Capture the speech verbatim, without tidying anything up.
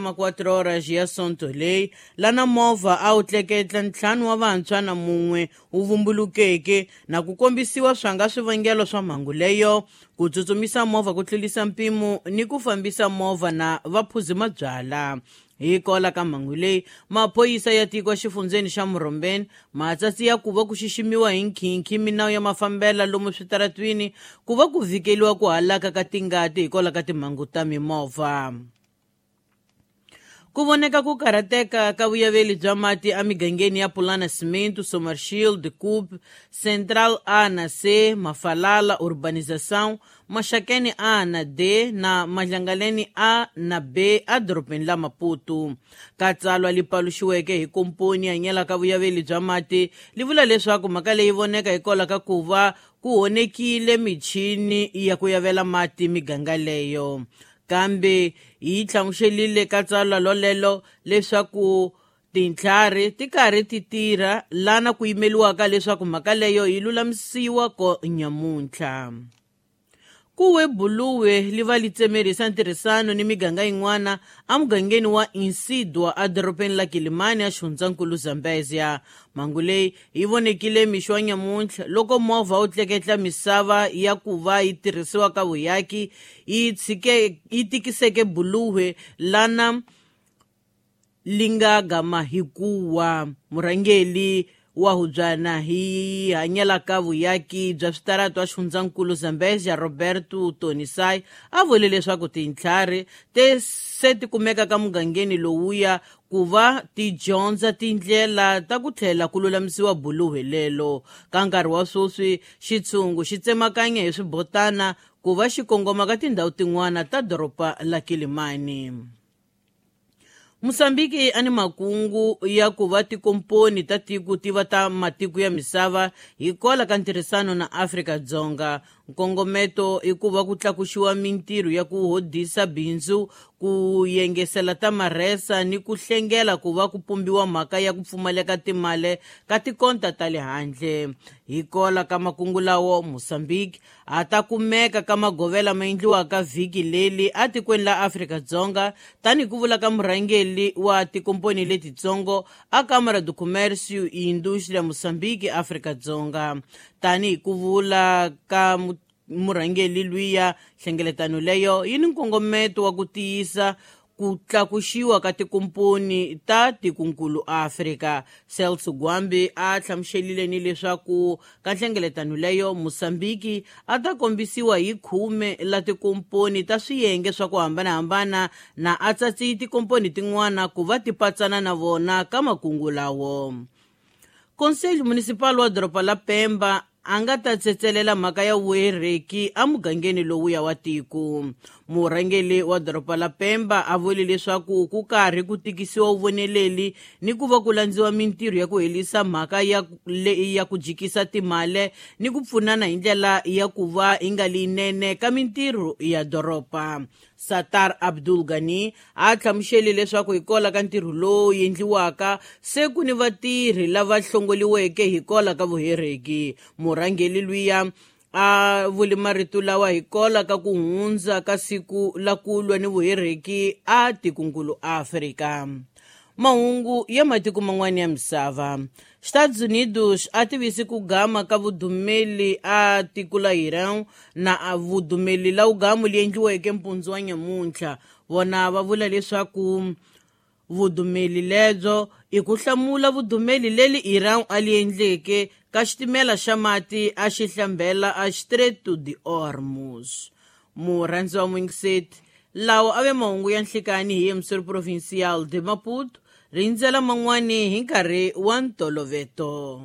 Ma quatro horas ya Sonto leyi lana movha a wu tleketla ntlhanu wa vantshwa na mun'we wu vumbulukeke na ku kombisiwa swanga swivangelo swa mhangu leyo, ku tsutsumisa movha ku tlurisa mpimo ni ku fambisa movha na vaphuzi mabyala. Hi kola ka mhangu leyi, maphorisa ya tiko exifundzheni xa Murombeni ma tsatsi ya ku va ku xiximiwa hi nkhinkhi minawu ya mafambela lomu switaratwini ku va ku vhikeliwa ku halaka ka tingati hikwalaho ka timhangu ta mimovha. Ku voneka ku karhateka ka vuyaveli bya mati emigangeni ya Pulana Cimento, Sommerschield, Coop, Central A na C, Mafalala, Urbanização, Maxakeni A na D na Madlangaleni A na B edorobeni la Maputo. Ka tsalwa li paluxiweke hi komponi ya nyelaka vuyaveli bya mati li vula leswaku mhaka leyi voneka hikwalaho ka ku va ku honekile michini ya ku yavela mati miganga leyo. Kambe yi hlamuselile ka tsalwa lolelo leswaku tintlhari ti karhi ti tirha lana ku yimeliwaka leswaku mhaka leyo yi lulamisiwa ko nyamuntlha. Ku we buluwe li va li tsemerisa ntirhisano ni miganga yin'wana emugangeni wa Insidwa edorobeni la Kilimani exifundzankulu Zambezia. Mhangu leyi yi vonekile mixo wa nyamuntlha loko movha wu tleketla misava ya ku va yi tirhisiwa ka vuyaki yi tshike yi tikiseke buluwe lana li nga gama hi kuwa. Murhangeri wa hubyana hi hanyelaka vuyaki bya switarata wa xifundzankulu Zambezia Roberto Tonisai a vule leswaku tintlhari te se ti kumeka ka mugangeni lowuya ku va ti dyondza tindlela ta ku tlhela ku lulamisiwa buluhe lelo. Ka nkarhi wa sweswi xitshungu xi tsemakanya hi swibotana ku va xi kongoma ka tindhawu tin'wana ta doroba la Kilimani. Mosambiki a ni makungu ya ku va tikomponi ta tiko ti va ta matiko ya misava hikwalaho ka ntirhisano na Afrika-Dzonga. Nkongometo i ku va ku tlakuxiwa mintirho ya ku hodisa bindzu, ku yengesela ta marhesa ni ku hlengela ku va ku pumbiwa mhaka ya ku pfumaleka timali ka tikonta ta le handle. Hikwalaho ka makungu lawo, Mosambiki a ta kumeka ka magovela ma endliwaka vhiki leri etikweni la Afrika-Dzonga tanihi ku vula ka murhangeri wa tikomponi letitsongo a Câmara do Comércio e Indústria Moçambique Afrika-Dzonga. Tanihi ku vula ka murhangeri luya, nhlengeletano leyo yi ni nkongometo wa ku tiyisa ku tlakuxiwa ka tikomponi ta tikonkulu Afrika. Celso Gwambi a hlamuselile ni leswaku ka nhlengeletano leyo Mosambiki a ta kombisiwa hi khume la tikomponi ta swiyenge swa ku hambanahambana na a tsatsi tikomponi tin'wana ku va ti patsana na vona ka makungu lawo. Conselho Municipal wa doroba la Pemba a nga ta tsetselela mhaka ya vuhereki emugangeni lowuya wa tiko. Murhangeri wa doroba la Pemba a vule leswaku ku karhi ku tikisiwa vuvoneleli ni ku va ku landziwa mintirho ya ku herisa mhaka ya ya ku jikisa timali ni ku pfunana hi ndlela ya ku va yi nga leyinene ka mintirho ya doroba. Satar Abdul Ghani a hlamusele leswaku hikwalaho ka ntirho lowu endliwaka se ku ni vatirhi lava hlongoliweke hikwalaho ka vuhereki. Murhangeri luya a vule marito lawa hikwalaho ka ku hundza ka siku la ku lwa ni vuhereki a tikonkulu Afrika. Mahungu ya matiko man'wana ya misava. Estados Unidos a tivisi ku gama ka vudumeli a tiko la Iran na a vudumeli la ugamu li endliweke mpundzu wa nyamuntlha. Vona va vula leswaku vudumeli lebyo i ku hlamula vudumeli leri Iran a li endleke ka xitimela xa mati a xi hlambela a Strait de Hormuz. Murhandzi wa Mwingiseti, lawa a ve mahungu ya nhlikani hi Emissor Provincial de Maputo, rindzela man'wani hi nkarhi wa ntoloveto.